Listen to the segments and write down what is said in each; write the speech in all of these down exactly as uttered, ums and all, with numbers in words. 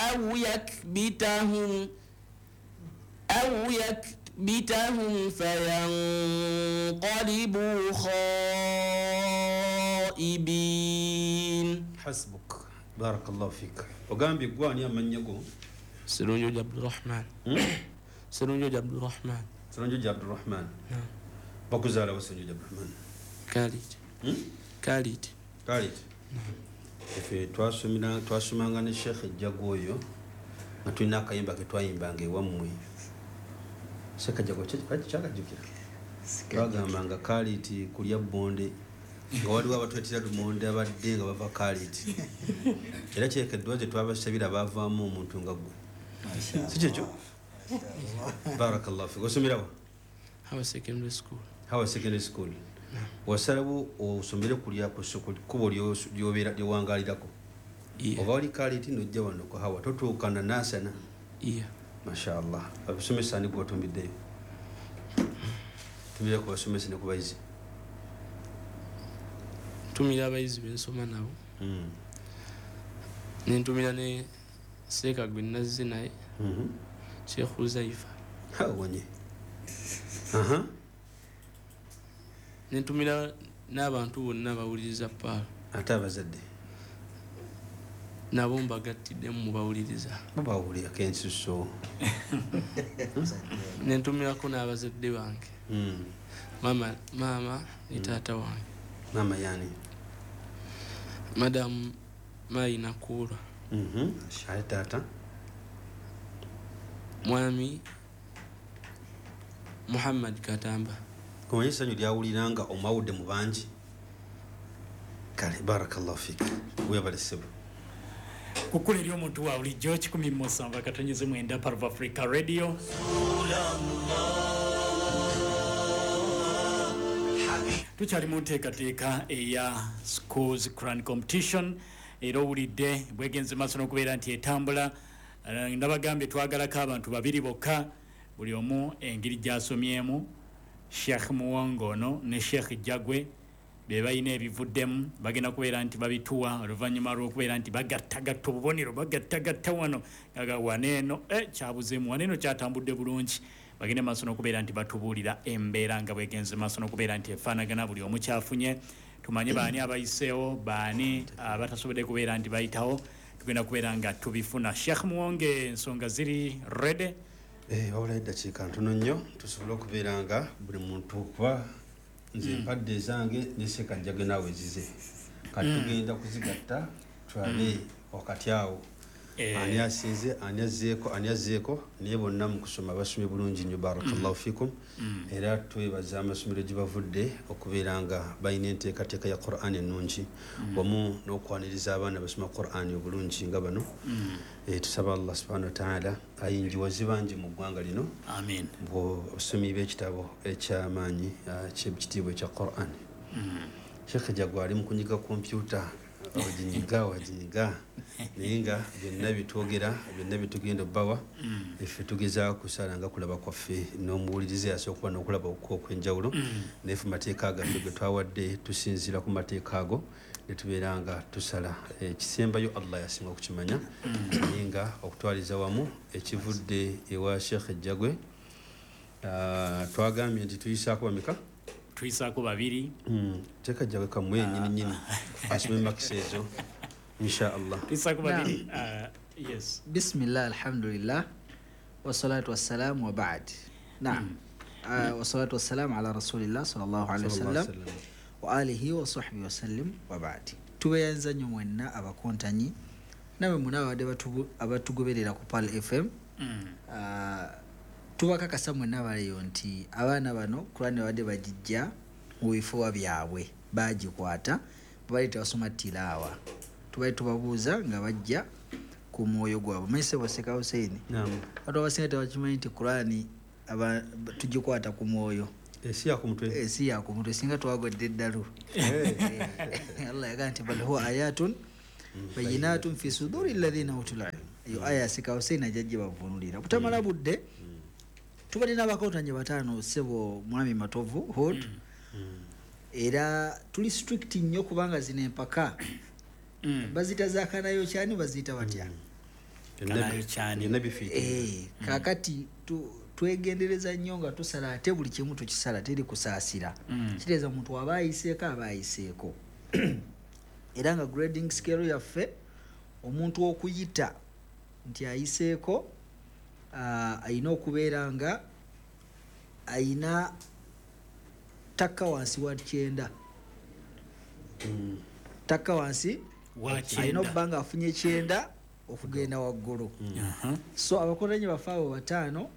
أو يكبتهم أو يكبتهم فينقلبوا خائبين. حسبك بارك الله فيك. Ogambye gwani amannya go? Sirunjoji Abdurrahman. Sirunjoji Abdurrahman. Sirunjoji Abdurrahman. Bakuzaala wa Sirunjoji Abdurrahman? Khalid. Khalid. Khalid. Efe twasomera twasomanga ne Sheikh Jago oyo nga tulina akayimba ke twayimbanga ewammwe. Sheikh Jago kyakajjukira? Twagambanga Khalid kulya bbonde nga waliwo abatwetera lumonde abadde nga bava Khalid. Era kyekeddwa gye twabasabira baavaamu omuntu nga ggwe. Si kyekyo? Barakallahu fik. Osomerawo? Hawa Secondary School. Hawa Secondary School. Wasalawo osomere kulya ku kkubo ly'obeera lyewangalirako. Oba oli Khalid n'ojja wano ku Hawa totuukana naasana. Masha Allah. Abasomesa ani gw'otumbiddeyo? Tumira ku basomesa ne ku bayizi. Ntumira abayizi be nsoma nabo. Nentumira ne Seeka gwe nazze naye. Sheikh Huzaifa. Awonye. Nentumira n'abantu bonna bawuliriza Paalo. Ate abazadde? Nabo mbagattidde mu bawuliriza. Babawulirako ensusso. Nentumirako n'abazadde bange. Maama, maama ne taata wange. Maama yani? Madam Mayi Nakuura. Ate taata? Mwami Muhammad Katamba. Omanyi essanyu lyawulira nga omwawudde mu bangi? Kale barakallahu fik. Weebale ssebo. Kukula eri omuntu wa bulijjo kikumi mu musanvu akatonyeze mwenda Part of Africa Radio. Tukyali mu nteekateeka eya Schools Quran Competition era owulidde bwegenze maaso n'okubeera nti etambula. Nabagambye twagalako abantu babiri bokka buli omu engeri gy'asomyemu. Sheikh Muwongo ono ne Sheikh Jagwe be balina ebivuddemu bagenda kubeera nti babituwa oluvannyuma lw'okubeera nti bagattagatta obubonero bagattagatta wano gaga waneeno eh, kyabuzeemu waneeno kyatambudde bulungi. Bagende maaso n'okubeera nti batubuulira embeera nga bwegenze maaso n'okubeera nti efaanagana buli omu kyafunye. Tumanye baani abayiseewo baani abatasobodde kubeera nti bayitawo. Tugenda kubeera nga tubifuna. Sheikh Muwonge ensonga ziri ready? Eh, wabula eddakiika ntono nnyo tusobole okubeera nga buli muntu kuba nze mpadde ezange ne Sheikh Jagwe naawe ezize. Kati tugenda kuzigatta tulabe wakati awo ani asinze ani azzeeko ani azzeeko naye bonna mu kusoma basomye bulungi nnyo. Barakallahu fikum. Era twebaza amasomero gye bavudde okubeera nga balina enteekateeka ya Quran ennungi wamu n'okwaniriza abaana basoma Quran obulungi nga bano. Tusaba Allah subhanahu wa ta'ala ayingiwaze bangi mu ggwanga lino. Amin. Obusomi bw'ekitabo eky'amaanyi ky'ekitiibwa ekya Quran. Sheikh Jagwe ali mu kunyiga kompyuta waginyiga waginyiga naye nga byonna bitwogera byonna bitugenda obbawa effe tugezaako kusala nga kulaba kwaffe n'omuwuliriza yasobola okuba n'okulaba okw'enjawulo. Naye ffe mateeka gaffe ge twawadde tusinziira ku mateeka ago ne tubeera nga tusala. Ekisembayo Allah yasinga okukimanya. Naye nga okutwaliza wamu ekivudde ewa Sheikh Jagwe twagambye nti tuyisaako bameka? Tuyisaako babiri. Teeka Jagwe kamwe nnyini nnyini asome makisa ezo insha Allah. Tuyisaako babiri. Yes. Bismillah, alhamdulillah, wassalatu wassalamu wa ba'd. Naam. Wassalatu wassalamu ala rasulillah sallallahu alaihi wasallam wa alihi wa sahbihi wasallim wa ba'd. Tubeyanza nnyo mwenna abakontanyi nawe muna abadde abatugoberera ku Pearl F M. Tubakakasa mwenna baleyo nti abaana bano Quran babadde bagijja mu bifo byabwe bagikwata babadde tebasoma tilaawa. Tubadde tubabuuza nga bajja ku mwoyo gwabwe. Manyi ssebo Sheikh Hussein, abantu abasinga tebakimanyi nti Quran tugikwata ku mwoyo. Ensi yakumutwe. Ensi yakumutwe singa twagodde eddalu. Allah yagamba nti bal huwa ayatun bayyinatun fi suduri alladhina utul ilm. Eyo aya Sheikh Hussein ajja gibavvuunulira. Butamala budde tubadde n'abakontanye bataano ssebo Mwami Matovu Hood. Era tuli strict nnyo kubanga zino empaka baziyita zakanayo kyani baziyita batya? Eh, kakati twegendereza nnyo nga tusala ate buli kimu tukisala teri kusaasira. Kitegeeza omuntu aba ayiseeko aba ayiseeko. Era nga grading scale yaffe omuntu okuyita nti ayiseeko ayina okubeera nga ayina takka wansi wa kyenda. Takka wansi ayina okuba nga afunye kyenda okugenda waggulu. So abakolanyi baffe abo bataano,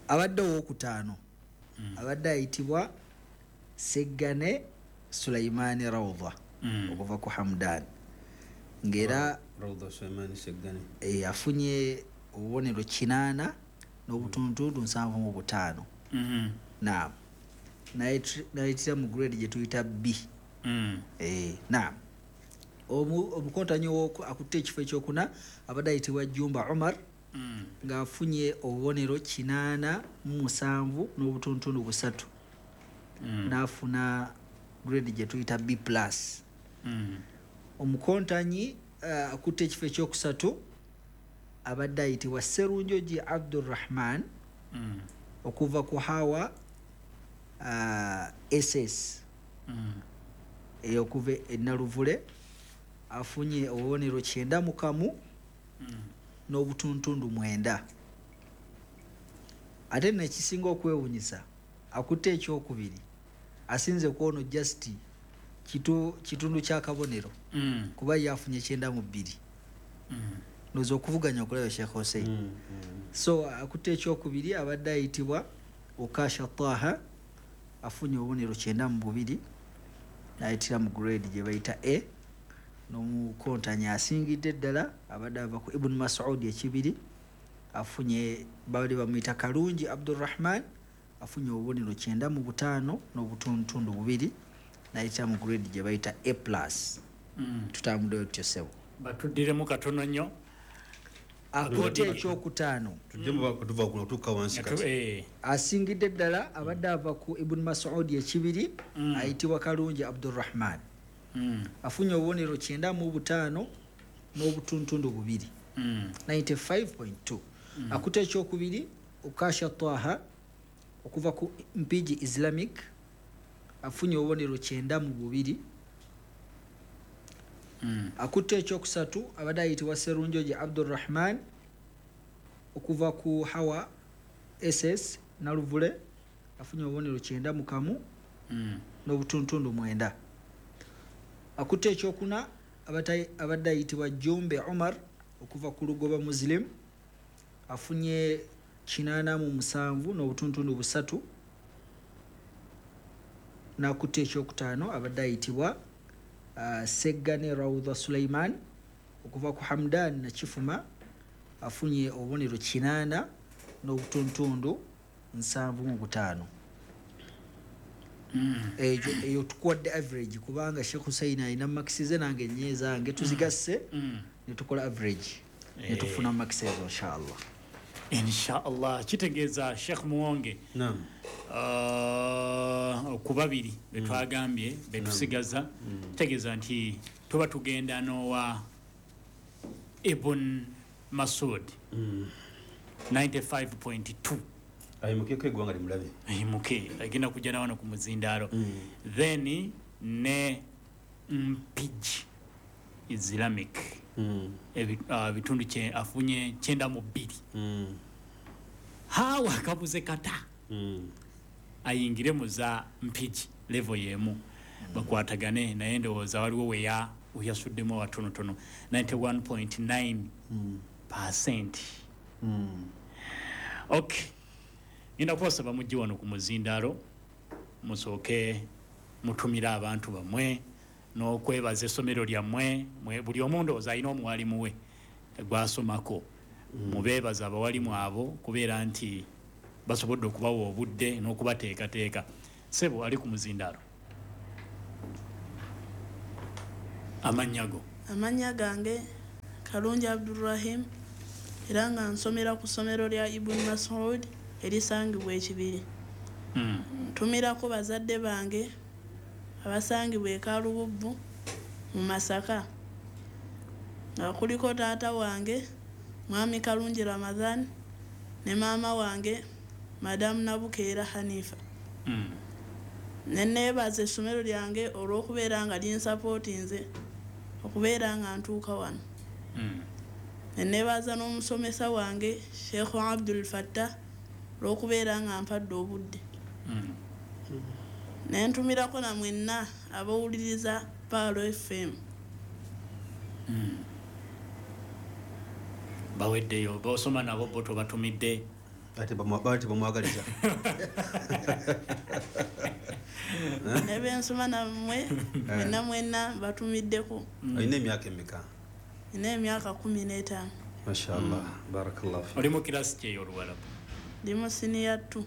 abadde owokutaano abadde ayitibwa Seggane Sulaimani Rawda okuva ku Hamdan, ng'era afunye obubonero kinaana n'obutuntundu nsanvu mu butaano. Naam, nayitira mu grade gye tuyita B. Naam, omukontanyi akutte ekifo ekyokuna abadde ayitibwa Jumba Umar ng'afunye obubonero kinaana mu musanvu n'obutuntundu busatu, n'afuna grade gye tuyita B plus. Omukontanyi akutte ekifo ekyokusatu abadde ayitibwa Serunjogi Abdurrahman okuva ku Hawa S S okuva e Naluvule, afunye obubonero kyenda mu kamu n'obutuntundu mwenda. Ate nno ekisinga okwewuunyisa akutte ekyokubiri asinze kwono just kitundu ky'akabonero kuba ye afunye kyenda mu bbiri. Ndowooza okuvuganya okulaba Sheikh Hussein. So akutte ekyokubiri abadde ayitibwa Okasha Taha afunye obubonero kyenda mu bubiri n'ayitira mu grade gye bayita A. N'omukontanyi asingidde ddala abadde ava ku Ibn Mas'ud ekibiri afunye, babadde bamuyita Kalungi Abdurrahman afunye obubonero kyenda mu butaano n'obutuntundu bubiri n'ayitira mu grade gye bayita A plus. Tutambuddeyo tutyo ssebo. Batuddiremu katono nnyo. Akutte ekyokutaano asingidde ddala abadde ava ku Ibn Mas'ud ekibiri ayitibwa Kalungi Abdurrahman afunye obubonero kyenda mu butaano n'obutuntundu bubiri ninety-five point two. Akutte ekyokubiri Okasha Taha okuva ku Mpigi Islamic afunye obubonero kyenda mu bubiri. Akutte ekyokusatu abadde ayitibwa Serunjogi Abdurrahman okuva ku Hawa S S Naluvule afunye obubonero kyenda mu kamu n'obutuntundu mwenda. Akutte ekyokuna abadde ayitibwa Jumbe Umar okuva ku Lugoba Muslim afunye kinaana mu musanvu n'obutuntundu busatu. N'akutte ekyokutaano abadde ayitibwa Uh, Seggane Rawda Suleiman okuva ku Hamdan Nakifuma afunye obubonero kinaana n'obutuntundu nsanvu mu butaano. Eyo tukuwadde average kubanga Sheikh Hussein alina marks ze nange nnye zange tuzigasse ne tukola average ne tufuna marks ezo inshallah. Inshallah. Kitegeeza Sheikh Muwonge. Naam. Uh, ku babiri betwagambye betusigaza kitegeeza nti tuba tugenda n'owa Ibn Mas'ud ninety-five point two. Ayimukeko eggwanga limulabe. Ayimuke agenda kujja na wano ku muzindaalo. Then ne Mpigi Islamic ebitundu kye afunye kyenda mu bbiri. Hawa kabuze kata ayingire mu za Mpigi level y'emu bakwatagane naye ndowooza waliwo weya oyasuddemu watonotono ninety-one point nine percent. Okay, ngenda kubasaba mujje wano ku muzindaalo musooke mutumire abantu bammwe n'okwebaza essomero lyammwe. Buli omu ndowooza alina omuwalimu we gwasomako. Mubeebaza abawalimu abo kubeera nti basobodde okubawa obudde n'okubateekateeka. Ssebo ali ku muzindaalo, amannya go? Amannya gange Kalungi Abdurrahim era nga nsomera ku ssomero lya Ibn Mas'ud erisangibwa Ekibiri. Ntumirako bazadde bange abasangibwa e Kalububbu mu Masaka Nga kuliko taata wange Mwami Kalungi Ramadhan ne maama wange Madamu Nabukeera Hanifa. Mm. Ne neebaza essomero lyange olw'okubeera nga linsapootinze okubeera nga ntuuka wano. Mm. Ne neebaza n'omusomesa wange Sheikh Abdul Fattah olw'okubeera nga mpadde obudde. Mm. Ne ntumirako na mwenna abawuliriza Pearl F M. Mm. Baweddeyo bosoma nabo bo tobatumidde. Ate bamwagaliza. Ne bensoma nammwe mwenna mwenna batumiddeko. Olina emyaka emeka? Nina emyaka kumi n'etaano. Mashallah, barakallahu fik. Oli mu kirasi ki ey'Oluwarabu? Ndi mu siniya two.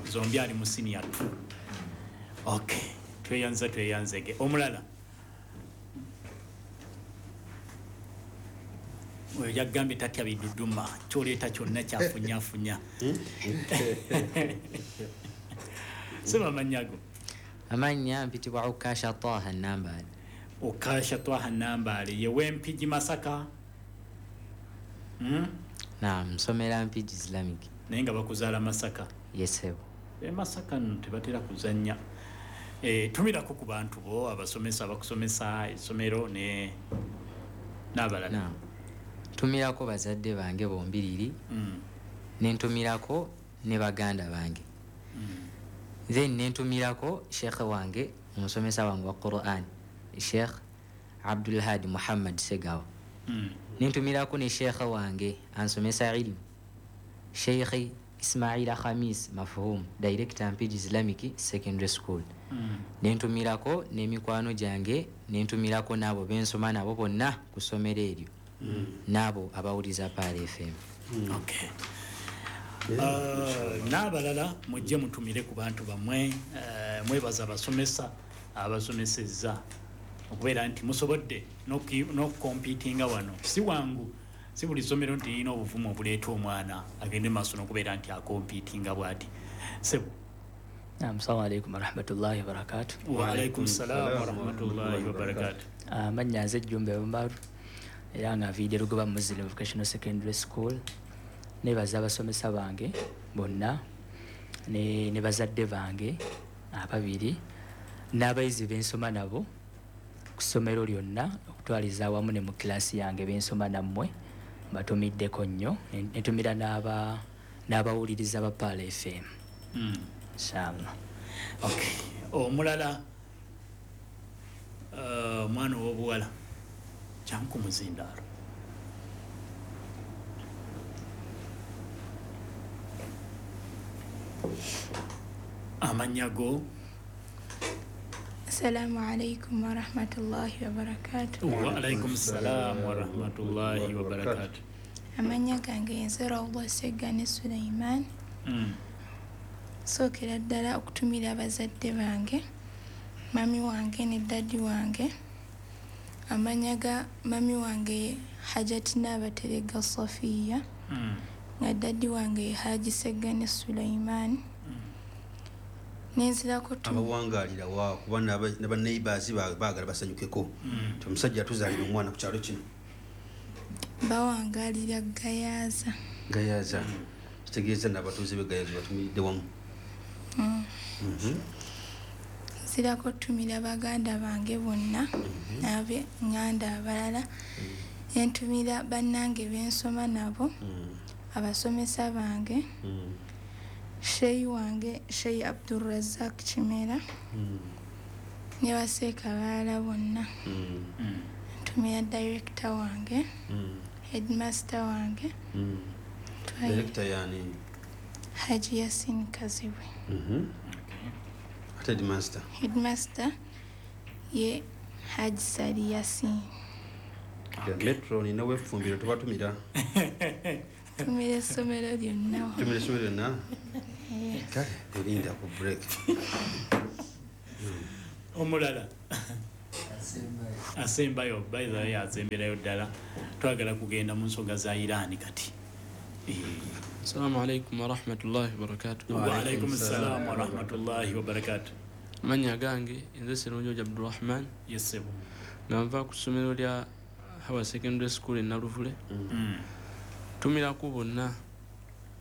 Zombi ali mu siniya two. Okay, tweyanza tweyanzege. Omulala oyo yagambye tatya biduduma, kyoleeta kyonna kyafunyafunya. Sema amannya go. Amannya mpitibwa Ukasha Taha Nambaale. Ukasha Taha Nambaale ye w'Empigi Masaka. Mm? Naam, nsomera Mpigi Islamic. Naye nga bakuzaala Masaka. Yes, sebo. E Masaka nno tebatera kuzannya. Eh, tumirako ku bantu bo abasomesa abakusomesa essomero ne n'abalala. Naam. Ntumirako bazadde bange bombiriri. Mm. Ne ntumirako ne baganda bange. Mm. Then ne ntumirako Sheikh wange omusomesa wange wa Quran, Sheikh Abdul Hadi Muhammad Segawa. Mm. Ne ntumirako ne Sheikh wange ansomesa ilmu, Sheikh Ismaila Khamis Mafhum, Director Mpigi Islamic Secondary School. Mm. Ne ntumirako n'emikwano gyange, ne ntumirako n'abo bensoma nabo bonna ku ssomero eryo. Mm. N'abo abawuliza Pearl F M. Mm. Okay. Uh, n'abalala mujje mutumire ku bantu bammwe. Uh, mwebaza abasomesa abasomesezza okubeera nti musobodde n'okukompitinga wano. Si wangu, si buli ssomero nti lirina obuvumu obuleeta omwana agende maaso n'okubeera nti akompitinga bw'ati. Sebo. Naam, assalamu alaikum warahmatullahi wabarakatuh. Wa alaikum salaam warahmatullahi wabarakatuh. Amannya nze Jumbe Umaru era nga nviidde Lugoba Muslim Vocational Secondary School. Nebaza abasomesa bange bonna ne, ne bazadde bange ababiri n'abayizi bensoma nabo ku ssomero lyonna okutwaliza awamu ne mu kilaasi yange bensoma nammwe mbatumiddeko nnyo. Netumira n'aba n'abawuliriza ba Pearl F M. Mm. Inshallah. Okay. Omulala omwana uh, ow'obuwala jangu muzindaalo. Amannya go. Assalamu alaikum warahmatullahi wabarakatuh. Wa alaikum salam warahmatullahi wabarakatuh. Amannya gange nze Rawda Segane Sulaiman. Mm. Sookera ddala okutumira abazadde bange, mami wange ne daddi wange. Amannya ga mami wange Hajati Naabaterega Safiya. Mm. Nga daddi wange Haji Segane Sulaiman. Nenzirako tu abawangaalira wa kuba n'aba neighbors baagala basanyukeko. Mm. Omusajja atuzaalira omwana ku kyalo kino. Bawangaalira Gayaza. Gayaza. Kitegeeza n'abatuuze b'e Gayaza batumiridde wamu. Mm. Mhm. Nzirako tumira baganda bange bonna mm-hmm. n'ab'eŋŋanda abalala. Mm. Nentumira bannange bensoma nabo. Mm. Abasomesa bange. Mm. Sheyi wange Sheyi Abdulrazak Kimera. Mm. Ne baseeka abalala bonna. Mm. Ntumira director wange. Mm. Headmaster wange. Mm. Director yani? Haji Yasin Kazibwe. Mhm. Ate headmaster? Headmaster ye Haji Sali Yasin. Okay. Metro nina wefumbiro tubatumira. Tumira essomero lyonna. Tumira essomero lyonna? Kale, olinda ku break. Omulala asembayo, by the way asemberayo ddala. Twagala kugenda mu nsonga za Iran kati. Assalamu alaikum warahmatullahi wabarakatuh. Wa alaikum assalam warahmatullahi wabarakatuh. Amannya gange nze Sserunjogi Abdurrahman. Yes, sebo. Nga nva ku ssomero lya Hawa Secondary School e Naluvule. Ntumirako bonna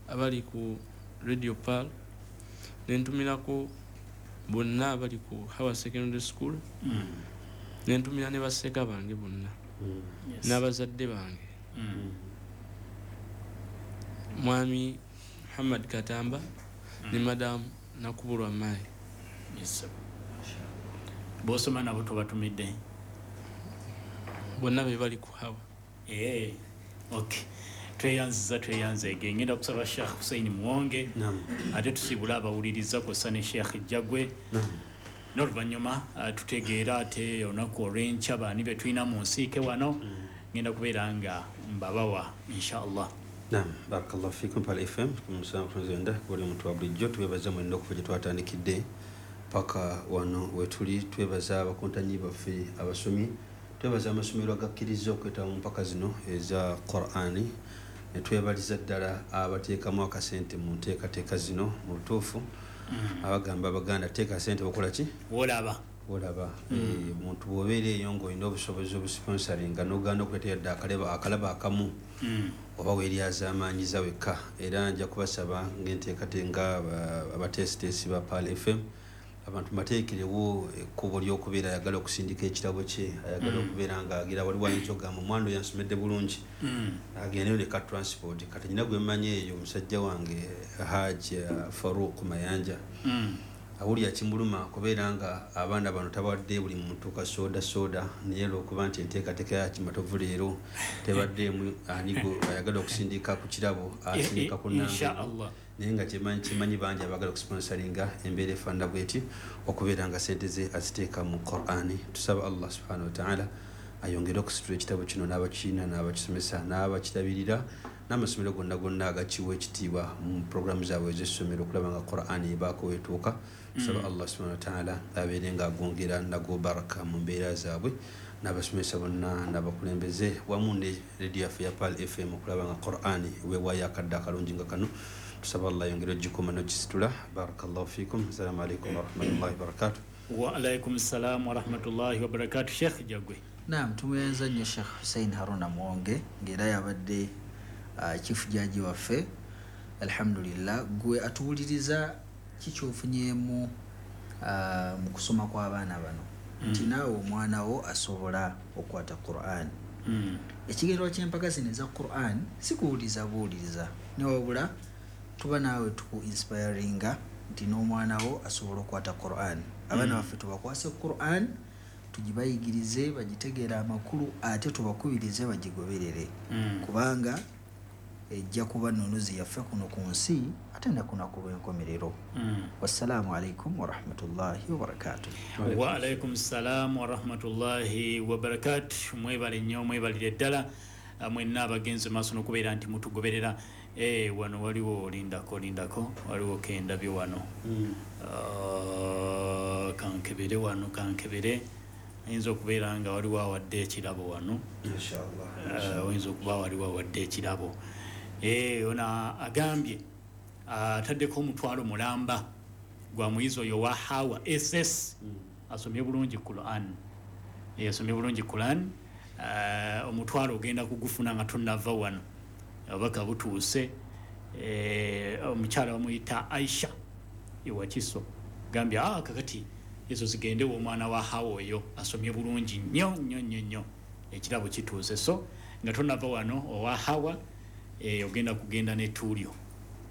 abali ku Radio Pearl, nentumirako bonna abali ku Hawa Secondary School, nentumira ne baseka bange bonna n'abazadde bange, Mwami Muhammad Katamba ne Madam Nakubulwa Mai. Bosoma nabo tobatumidde bonna be bali ku Hawa. Eh, okay. Tweyanziza tweyanzeege. Ngenda kusaba Sheikh Hussein Muwonge ate tusibula abawuliriza kw'ossa ne Sheikh Jjagwe. N'oluvannyuma tutegeera ate olunaku olw'enkya baani be tulina mu nsiike wano. Ngenda kubeera nga mbabawa inshallah. Naam, barakallahu fikum Pearl F M kumusanvu buli muntu wa bulijjo twebaza mwenna okuva gye twatandikidde paka wano wetuli. Twebaza abakontanyi baffe abasomi, twebaza amasomero agakkiriza okwetaba mu mpaka zino eza Qur'ani, ne twebaliza ddala abateekamu akasente mu nteekateeka zino mu butuufu. Abagamba Abaganda teeka sente bakola ki? Wolaba. Wolaba. Omuntu bw'obeera eyo ng'olina obusobozi obusponsoringa n'ogaana okuleeta yadde akalaba akalaba akamu oba weeryazaamaanyiza wekka. Era nja kubasaba ng'enteekateeka abateesiteesi ba Pearl F M abantu bateekerewo ekkubo ly'okubeera ayagala okusindika ekirabo kye, ayagala okubeera ng'agira waliwo ayinza okugamba omwana oyo yansomedde bulungi agendeyo ne ka transport. Kati nnyina gwe mmanyi eyo omusajja wange Haji Farouk Mayanja awulira kimuluma kubeera nga abaana bano tabawadde buli muntu ka soda soda, naye olw'okuba nti enteekateeka ya Kimatovu leero tebaddeemu anigo ayagala okusindika ku kirabo asindika ku nnamba, naye nga kyemanyi kimanyi bangi abaagala okusponsoringa embeera efaanana bweti okubeera nga sente ze aziteeka mu Qur'ani. Tusaba Allah subhanahu wa ta'ala ayongere okusitula ekitabo kino n'abakiina n'abakisomesa n'abakirabirira n'amasomero gonna gonna agakiwa ekitiibwa mu puroguramu zaabwe ez'essomero okulaba nga Qur'ani ebaako weetuuka. Tusaba Allah subhanahu wa ta'ala abeere ng'agongera nago baraka mu mbeera zaabwe n'abasomesa bonna n'abakulembeze wamu ne radio yaffe ya Pearl F M okulaba nga Qur'ani weewaayo akadde akalungi nga kano. Tusaba Allah ayongere ogikuuma n'ogisitula. Barakallahu fikum. Assalamu alaikum warahmatullahi wabarakatuh. Wa alaikum salam warahmatullahi wabarakatuh. Sheikh Jjagwe. Naam, tumweyanza nnyo Sheikh Hussein Haruna Muwonge ng'era yabadde uh, chief judge waffe. Alhamdulillah, gwe atuwuliriza kikyofunyeemu uh, mu kusoma kw'abaana bano nti naawe omwana wo asobola okukwata Qur'an. Mm. Ekigendererwa ky'empaka zino eza Qur'an si kuwuliriza buwuliriza, newabula tuba naawe tuku inspiringa nti n'omwana wo asobola okukwata Qur'an. Abaana baffe tubakwase Qur'an, tugibayigirize bagitegeere amakulu ate tubakubirize bagigoberere. Mm. Kubanga ejja kuba nnunuzi yaffe kuno ku nsi ate ne ku lunaku lw'enkomerero. Mm. Wassalaamu alaikum warahmatullahi wabarakatuh. Wa alaikum salaam warahmatullahi wabarakatuh. Mwebale nnyo, mwebalire ddala mwenna abagenzi maaso n'okubeera nti mutugoberera. Eh, wano waliwo lindako lindako waliwo kendabye wano. Mm. Uh, kankebere wano kankebere ayinza okubeera nga waliwo awadde ekirabo wano inshallah. Oyinza okuba waliwo awadde ekirabo. Eh, ona agambye ataddeko omutwalo mulamba gwa muyizi oyo wa Hawa S S. Mm. Asomye bulungi Qur'an. Eh, asomye bulungi Qur'an. Uh, omutwalo ogenda kugufuna nga tonnava wano. Abaka butuuse. Eh, omukyala bamuyita Aisha Iwakiso. Gambye ah kakati ezo zigende omwana wa Hawa oyo asomye bulungi nnyo nnyo nnyo nnyo. Ekirabo kituuse so nga tonnava wano owa Hawa eh, ogenda kugenda n'ettuulyo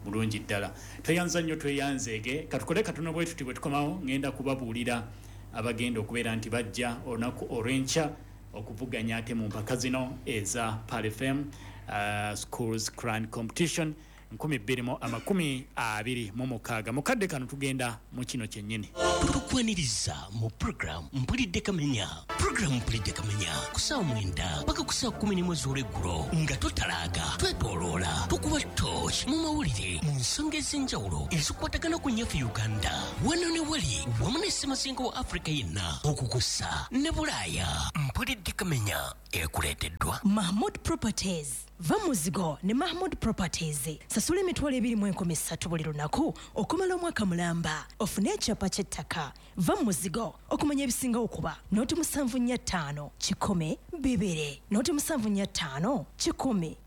bulungi ddala. Tweyanza nnyo tweyanzeege. Katukole katono bwe tuti bwe tukomawo ngenda kubabuulira abagenda okubeera nti bajja olunaku olw'enkya okuvuganya ate mu mpaka zino eza Pearl F M uh, Schools Quran Competition nkumi bbiri mu amakumi abiri mu mukaaga. Mukadde kano tugenda mu kino kyennyini. Tukwaniriza mu program Mpulidde Kamenya. Program Mpulidde Kamenya ku ssaawa mwenda paka ku ssaawa kkumi n'emu ez'olweggulo nga totalaaga, twetooloola, tukuba torch mu mawulire mu nsonga ez'enjawulo ezikwatagana ku nnyaffe Uganda wano ne wali wamu ne ssemazinga wa Afrika yenna okukusa ne Bulaaya. Mpulidde Kamenya Ekuleeteddwa Mahmud Properties. Va muzigo ne Mahmud Properties. Sasula emitwalo ebiri mu enkumi ssatu buli lunaku okumala omwaka mulamba. Ofune ekyapa ky'ettaka. Va muzigo okumanya ebisingawo kuba noti musanvu nnya ttaano kikumi bibiri noti musanvu nnya ttaano kikumi